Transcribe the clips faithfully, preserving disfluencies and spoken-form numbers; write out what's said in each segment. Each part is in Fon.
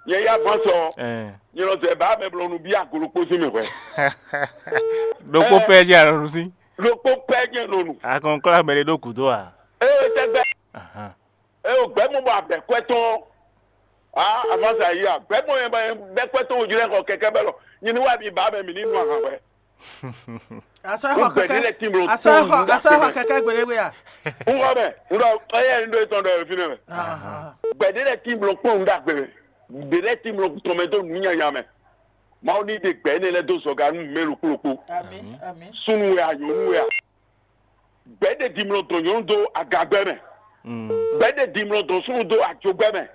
Nyɛ yá ván sɔ. Ɛɛ. Nyɛ nɔ zɛ bá mɛ blɔ nu bí agolo kpó sín mɛ hwɛ. Ɖokpó pɛ jɛ alɔnu sí. Ɖokpó pɛ jɛ nɔ nu. Akɔnkɔlá mɛ ɖe ɖó gǔdo a? Ee tɛgbɛ. Ahan. Ee o gbɛ mɔ bɔ abɛ kwɛ tɔn. Ah, amasa yi a gbɛ mɔ yɛ bɛ kwɛ tɔn ojú lɛ xɔ kɛkɛ bɛ lɔ. Nyɛ ni wa mi ba mɛ mi ni nu ahan hwɛ. Asɔ Ó xɔ gbɛ̌ ɖé kɛkɛ. lɛ́ tín bló Asɔ kpɔ́n xɔ nǔɖagbe asɔ xɔ mɛ. kɛkɛ gbele we a. Ń xɔ mɛ, ń ɖɔ ɔyɛ ń ɖó etɔn ɖɔ fínɛ́ mɛ. Ahan. Gbɛ̌ ɖé lɛ́ tín bló kpɔ́n nǔɖagbe mɛ. Ɖě lɛ́ tín bló tɔn mɛ dó nǔ nyanya mɛ. Mawu ní ɖe gbɛ̌ énɛ́ lɛ́ɛ dó zɔga nú mɛ ɖokpó ɖokpó. Ami ami. Súnnu wɛ a nyɔ̌nu wɛ a. Gbɛ̌ ɖe dimlɔ dɔn nyɔ̌nu dó agagbɛ́ mɛ. Mm. Gbɛ̌ ɖe dimlɔ dɔn súnnu dó ajogbɛ́ mɛ.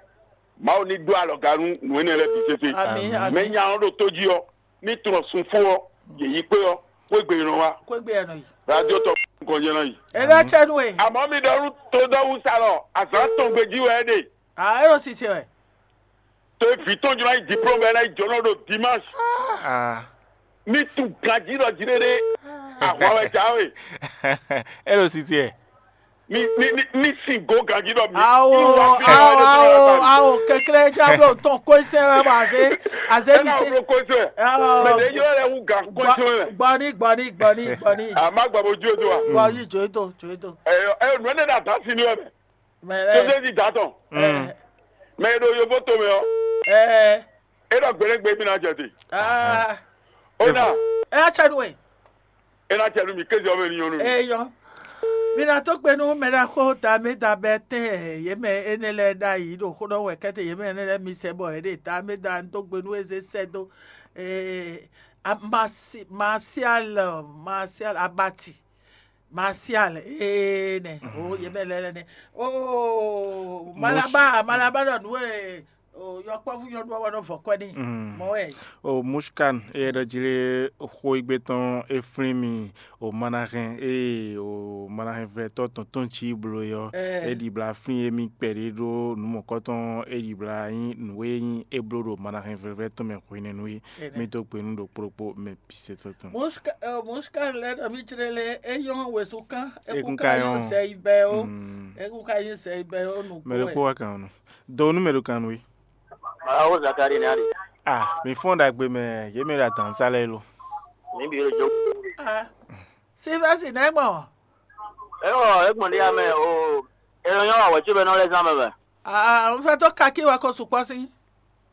Mawu ní ɖó alɔga nú nǔ énɛ́ lɛ́ɛ bǐ sésé. Ami Amin. Mɛ ami. Nya ɔ́ ɖo tó jí ɔ́, ní tunɔ sun fó ɔ́, yě yi kpé ɔ́, xwé gbe nɔ wá. Kó egbe yɛ nɔ yi. Radio tɔ kɔnjɛ nɔ yi. Ena cɛ nu e. Àmọ́ mi ɖɔ nú todɔ́wúsalɔ azǎn tɔn gbejí wɛ é ɖe. A ero sise wɛ. To vǐ tɔn jlɔ́ yi diplôme wɛ ná yi jɔnɔ ɖo dimanche. Ah. Ní tu ganjí ɖɔ jí ɖéɖé. Ahwan wɛ jǎwe. É ɖo si tiɛ. Ní ní ní ní sin go ganjí ɖɔ mi. Awo Ní wá fi awo wá awo ɖe awo kekle jablɔ tɔn kɔsɛ wɛ bɔ aze aze mi se. Kɔsɛ. Awo. Mɛ ɖe yɔ lɛ wu gan kɔsɛ wɛ. Gbɔni gbɔni gbɔni gbɔni. A ma gbɔ bo ju eto wa. Gbɔni jo eto jo eto. Ɛyɔ ɛyɔ nɔ ne da da si ni wɛ mɛ. Mɛ Tó lɛ. Dé di da tɔn. Ɛ Mɛ e ɖo yovo tomɛ ɔ. Ɛ. E ɖɔ gbɛɖɛgbɛ mi na jɛ te. Aa. O na. Ɛ atsɛ nu e. E na jɛ nu mi kéze ɔmɛ ni nyɔnu. Eyɔ. Mi na tó gbe nú mɛɖaxó tamé da bɛ tɛn yě mɛ énɛ́ lɛ́ɛ ɖ'ayǐ ɖo xó ɖɔ wɛ kɛ́tɛ yě mɛ énɛ́ lɛ́ɛ mi sɛ bɔ yě ɖe tamé da ń dó gbe nú eze sɛ dó. Ee, a- masi masial masial abati. Martial ee nɛ o yě mɛ lɛ́ lɛ́ nɛ o Malaba Malaba ɖɔ nǔ e o yɔkpɔ́vú nyɔ́nu ɔ́ wɛ nɔ vɔ kwɛ́ n'i mɔ wɛ. O Mushkan eye ɖɔ jí lé xó égbé tɔn é flín mi o manahɛn eye o manahɛn vlɛtɔ́ tɔn tɔn cí blo é ɔ́ é ɖibla flín émí kpɛɖé ɖó nǔ mɔ̌kɔtɔn é ɖibla nyí nǔ e nyí é bló ɖo manahɛn vlɛ́vlɛ́ tɔn mɛ hwenɛ́nu é. Mí dó gbe nú ɖokpó ɖokpó mɛ bǐ sɛ́ tɔn tɔn. Muska ɛ Muska lɛ ɖɔ mí jlé lé é nyɔ́ wezun kán é kún ka nyí zɛ yi bɛ ó. É kún ka nyí zɛ yi bɛ ó nǔgbó. Mɛ ɖokpó wá kan ɔ́ nɔ. Do nú mɛ ɖo kan nú é. Malawo Zakari ní ali. Ah, mi fɔ́n ɖagbe mɛ yě mɛ ɖo adǎn sá lɛ́ɛ lo. Ní bí ló jó. Ah, Silvɛsi nɛ́ gbɔn. É wɔ é gbɔn ɖé ya mɛ o. É nɔ nyɔ́ wǎ wɛ̌ cóbɛ́nɔ lɛ́ɛ zán mɛ mɛ. Ah, un fẹ́ tó kakí wɛ ko sukpɔ́ sí.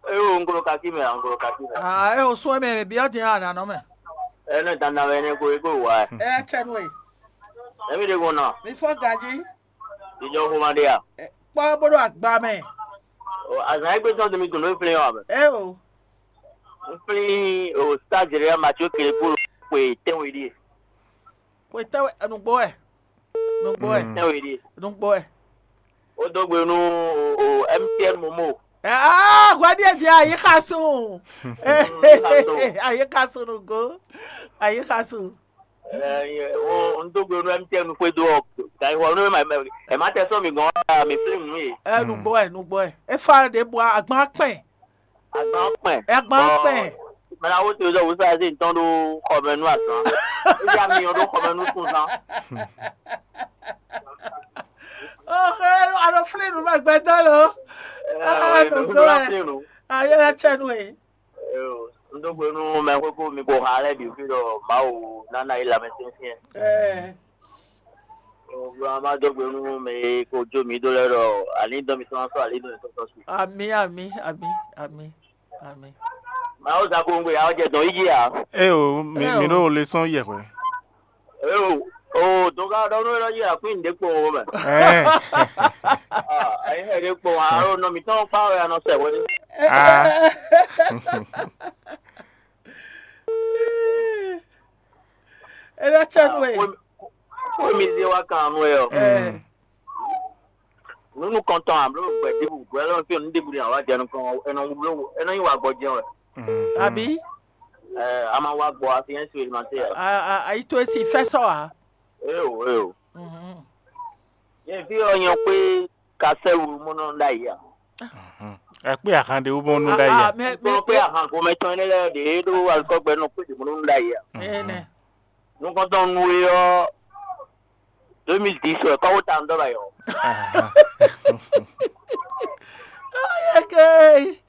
Eye wo un glo kakí mɛ, un glo kakí mɛ. Ah, é o sún mɛ byɔ́ din a nǎ nɔ mɛ. Ɛnɛ dandan wɛ ɛnɛ ko ego wa. Ɛ cɛ nu e. Ɛmi ɖe ko nɔ. Mi fɔ ganji. Ìjọ ko ma ɖe ya. Kpɔ bó ɖo agba mɛ. O azan egbe sɔn temi dùn ló flin wa mɛ. Ɛ o. N flin o stage rẹ ma tso kele kúrò pé tɛnwe ɖie. Pé tɛnwe nugbo wɛ. Nugbo wɛ. Tɛnwe ɖie. Nugbo wɛ. Ó dó gbe nú o M T N Momo. Ah, hwɛ ɖíe din ayi xa sun. Ayi xa sun nugo. Ayi xa sun. Ɛ, ɛ, o n dó gbe nú M T N xwedó ɔ gǎnxɔ nú ɛ má tɛ sɔ́ mi gɔn ɔ mi flín nǔ e. Ɛ nugbo ɛ nugbo ɛ. E fa ɖě bua agbán kpɛn. Agbán kpɛn. Agbán kpɛn. Mɛla wo te zɔ wusa se ntɔn ɖo xɔmɛ nú azán. Eya mi yɔ ɖo xɔmɛ nú sunzan. Oxe, alo flín nú mɛ gbɛdɔ lo. Ɛ, Ah, ɛ, nugbo ɛ. Flín nú. Ayé la tsɛ nú e. N dó gbe nú mɛ xwékú mi ko xa lɛ́ɛ bǐ fí ɖɔ Mawu ná ná yi lanmɛsyɛnsyɛn. Ɛ. Bló má dó gbe nú mɛ e ko jó mi dó lɛ́ɛ ɖɔ alǐ dɔn mi sɔ́ ná sɔ́ alǐ dɔn mi sɔ́ sɔ́ su. Ami ami ami ami ami. Mawu zako ŋgbe ya jɛ dɔn yi jí a. Eo mi Eo. Mi ɖo lesɔn yɛ hwɛ. Eo o dɔnga ɖɔ nú ɛlɔ yi akwín ɖe kpɔn o mɛ. Ɛɛ. Ayi hɛ ɖe kpɔn a alo nɔ mi tɔn kpa wɛ anɔ sɛ hwɛ. Ah. Ela tsɛ nue. Ko mi ze wa kan nue ɔ. Ɛɛ. Nunu kɔntɔn a blo gbɛ dibu gbɛ lɔ fi nu dibu ni awa jɛ nukɔn ɛnɔ wublo ɛnɔ yi wa gbɔ jɛ wɛ. Abi. Ɛ a ma wa gbɔ a fi yɛn su elimante yɛ. A a ayi to esi fɛ sɔ a. Eo eo. Mhm. Yɛ fi ɔ nyɔ kpe kasɛ wu mɔnɔ da yi a. Akpé ahan ɖe wú mɔnú ɖa yi a. Mɛ mɛ Kpɔn pé ahan gomɛ tɔn ɛnɛ lɛ ɖe ɖo alikɔgbɛ nɔ kpe ɖe mɔnɔ da yi a. Ɛnɛ. Nukɔntɔn nu e ɔ deux mille dix wɛ kɔwó ta ŋdɔ ba yɔ. Ahan. Ayeke.